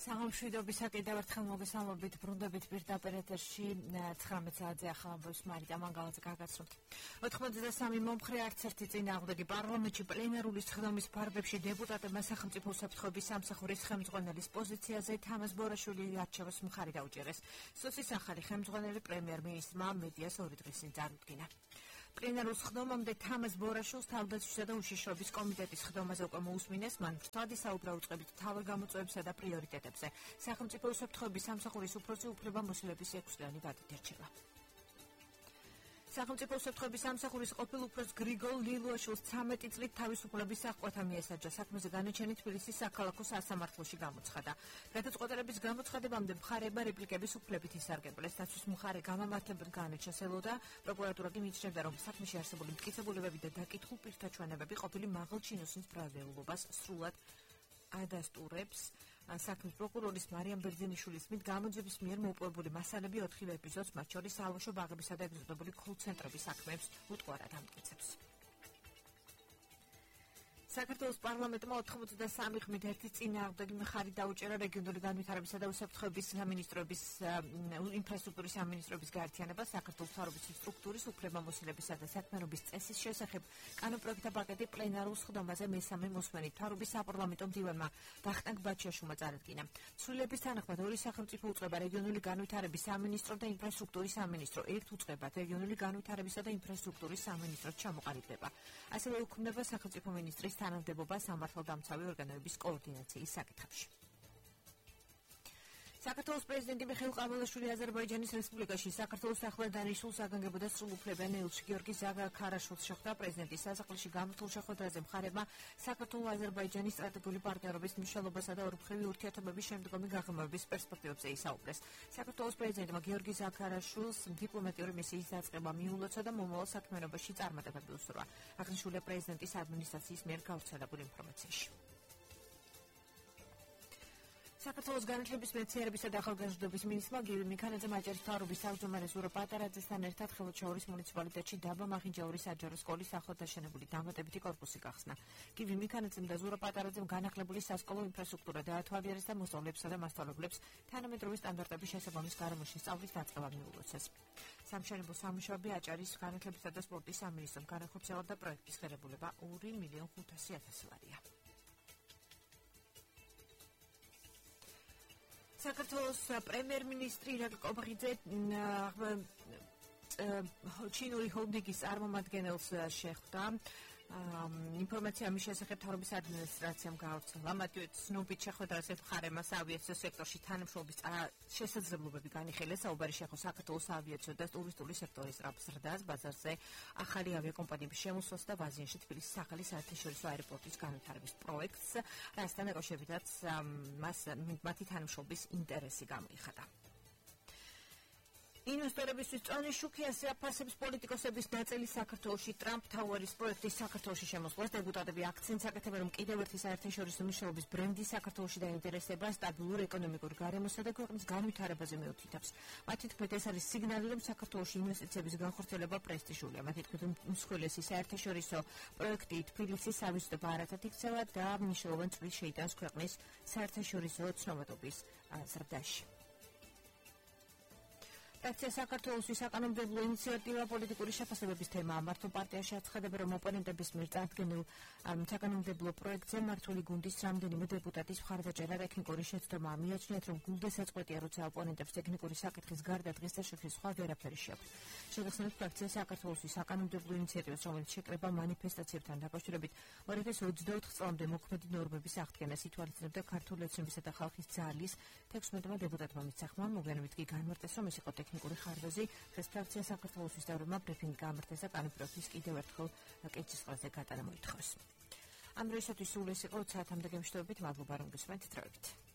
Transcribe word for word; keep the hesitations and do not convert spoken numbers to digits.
სამშვიდობისა კიდევ ერთხელ მოგესალმებით, ბრუნდებით პირდაპირ ეთერში ცხრამეტ საათზე ახალ ამბობს მარიტა მანგალაძე გაგაცნობთ. ოთხმოცდასამი მომხრე არც ერთი წინააღმდეგი პარლამენტში პლენარული სხდომის ფარგლებში დეპუტატებმა სახელმწიფო უსაფრთხოების სამსახურის ხელმძღვანელის პოზიციაზე თამაზ ბორაშვილის არჩევას მხარი დაუჭერეს. სუსის ახალი ხელმძღვანელი პრემიერ-მინისტრმა მედიას ორი დღის წინ წარუდგინა. პლენარულ სხდომამდე თამაზ ბორაშვილს თავდაცვისა და უშიშროების კომიტეტის სხდომაზე უკვე მოусმინეს, მან ვრცლად ისაუბრა უწყებით მთავარ გამოწვევებსა და პრიორიტეტებზე. სახელმწიფო უსაფრთხოების სამსახურის უფროსი უფლებამოსილების ექვსწლიანი ვადით ერჩევა. სახელმწიფო უსაფრთხოების სამსახურის ყოფილ უფროს გრიგოლ ლილუაშვილს ცამეტი წლით თავისუფლების აღკვეთა მიესაჯა. საქმეზე განაჩენი თბილისის საქალაქო სასამართლოში გამოცხადა. გადაწყვეტილების გამოცხადებამდე მხარეებმა რეპლიკების უფლებით ისარგებლეს. დაცვის მხარე გამამართლებად განაჩენილოდა, პროკურატურა კი მიიჩნევდა, რომ საქმეში არსებული მტკიცებულებები და დაკითხულ პირთა ჩვენებები ყოფილი მაღალ ჩინოსნის ბრალდეულობას სრულად ადასტურებს. საქმის პროკურორის მარიამ ბერძენიშვილის მით გამოძიების მიერ მოპოვებული მასალები ოთხივე ეპიზოდს, მათ შორის საალაშო ბაღებისა და ეგზოტებული კოლ-ცენტრების საქმეებს უტყუარად ამტკიცებს. საქართველოს პარლამენტმა ოთხმოცდასამი ხმით ერთი წინააღმდეგი მხარი დაუჭერა რეგიონული განვითარებისა და უსაფრთხოების სამინისტროების ინფრასტრუქტურის სამინისტროების გაერთიანებას საქართველოს მთავრობის სტრუქტურის უფლებამოსილებისა და საქმიანობის წესის შესახებ კანონპროექტთა პაკეტი პლენარულ სხდომაზე მესამე მოსმენით მთავრობის საპარლამენტო მდივანმა ვახტანგ ბაჩიაშვილმა წარადგინა. ცვლილების თანახმად ორი სახელმწიფო უწყება რეგიონული განვითარების სამინისტრო და ინფრასტრუქტურის სამინისტრო ერთ უწყებად რეგიონული განვითარებისა და ინფრასტრუქტურის სამინისტროს ჩამოყალიბდება. ასევე უქმდება სახელმწიფო მინისტრის თანამდებობა სამართალდამცავი ორგანოების კოორდინაციის საკითხებში. საქართველოს პრეზიდენტი მიხეილ ყაბულაშვილი აზერბაიჯანის რესპუბლიკაში საქართველოს ახლად დანიშნულ საგანგებო და სრულუფლებიან ელჩი გიორგი ზაგარაშვილს შეხვდა. პრეზიდენტის სასახლეში გამართულ შეხვედრაზე მხარეებმა საქართველო-აზერბაიჯანის სტრატეგიული პარტნიორობის მნიშვნელობასა და ორმხრივი ურთიერთობების შემდგომი გაღრმავების პერსპექტივებზე ისაუბრეს. საქართველოს პრეზიდენტმა გიორგი ზაგარაშვილს დიპლომატიური მისიის დაწყება მიულოცა და მომავალ საქმიანობაში წარმატებები უსურვა. აღნიშნულია პრეზიდენტის ადმინისტრაციის მიერ გავრცელებულ ინფორმაციაში. საქართველოს განათლების მეცნიერებისა და ახალგაზრდობის მინისტრმა გივი მიქანაძემ აჭარის მთავრობის თავმჯდომარე ზურაბ პატარაძესთან ერთად ხელშეურის მუნიციპალიტეტში დაბა მახინჯაურის საჯარო სკოლის ახლად დაშენებული დამატებითი კორპუსი გახსნა. გივი მიქანაძემ და ზურაბ პატარაძემ განახლებული სასკოლო ინფრასტრუქტურა დაათვალიერეს და მოსწავლეებსა და მასწავლებლებს თანამედროვე სტანდარტების შესაბამის გარემოში სწავლის დაწყება მიულოცეს. სამშენებლო სამუშაოები აჭარის განათლებისა და სპორტის სამინისტრომ განახორციელა და პროექტის ღირებულება ორი მილიონ ხუთასი ათასი ლარია. საქართველოს პრემიერ-მინისტრი ირაკლი კობახიძე ჩინური ჰოლდინგის წარმომადგენელს შეხვდა. ინფორმაცია ამის შესახებ მთავრობის ადმინისტრაციამ გაავრცელა. მათი ცნობით შეხვედრაზე მხარემა საავიაციო სექტორში თანამშრომლობის შესაძლებლობები განიხილეს. საუბარი შეეხო საქართველოს საავიაციო და ტურისტული სექტორის ზრდას, ბაზარზე ახალი ავიაკომპანიების შემოსვლას და ბაზიანში თბილისის ახალი საერთაშორისო აეროპორტის განვითარების პროექტს, რასთან დაკავშირებითაც მას მათი თანამშრომლობის ინტერესი გამოიხატა. ინვესტორებისთვის წონი შუქი ასე აფასებს პოლიტიკოსების ნაწილი საქართველოში ტრამპ თაუერის პროექტის საქართველოში შემოსვლას. დეპუტატები აქცენტს აკეთებენ, რომ კიდევ ერთი საერთაშორისო მნიშვნელობის ბრენდი საქართველოში დაინტერესება სტაბილურ ეკონომიკურ გარემოსა და ქვეყნის განვითარებაზე მეუთითებს. მათი თქმით, ეს არის სიგნალი, რომ საქართველოში ინვესტიციების განხორციელება პრესტიჟულია. მათი თქმით, უმსხვილესი საერთაშორისო პროექტი თბილისის სავიზიტო ბარათად იქცევა და მნიშვნელოვან წვლილს შეიტანს ქვეყნის საერთაშორისო ცნობადობის ზრდაში. ფრაქცია საქართველოსთვის საკანონმდებლო ინიციატივა პოლიტიკური შეფასებების თემაა. მართლ პარტიაში აცხადებენ, რომ ოპონენტების მიერ წარდგენილ საკანონმდებლო პროექტზე მართული გუნდის რამდენიმე დეპუტატის მხარდაჭერა ტექნიკური შეცდომაა. მიაჩნიათ, რომ გულდეს აწყვეტია, როცა ოპონენტებს ტექნიკური საკითხის გარდა დღეს და შექმნის სხვა ვერაფერი შეაქვთ. შეგახსენებთ, ფრაქცია საქართველოსთვის საკანონმდებლო ინიციატივას, რომელიც შეკრება მანიფესტაციებთან დაკავშირებით ორი ათას ოცდაოთხ წლამდე მოქმედი ნორმების აღდგენას ითვალისწინებდა ქართული ოცნებისა და ხალხის ძალის თექვსმეტმა დეპუტატმა მისცა ხმა. მოგვიანებით კი განმარტეს, რომ ეს იყო ტექნიკური ხარჯზე. დღეს ფრაქცია საქართველოს თავრობამ ბრიფინგი გამართეს და კანონპროექტის კიდევ ერთხელ კეჭის ყველაზე გატანა მოითხოვეს. ამ დროისათვის სულ ეს იყო საათამდე გემშვიდობით. მადლობა რომ გესმენთ. თრევით.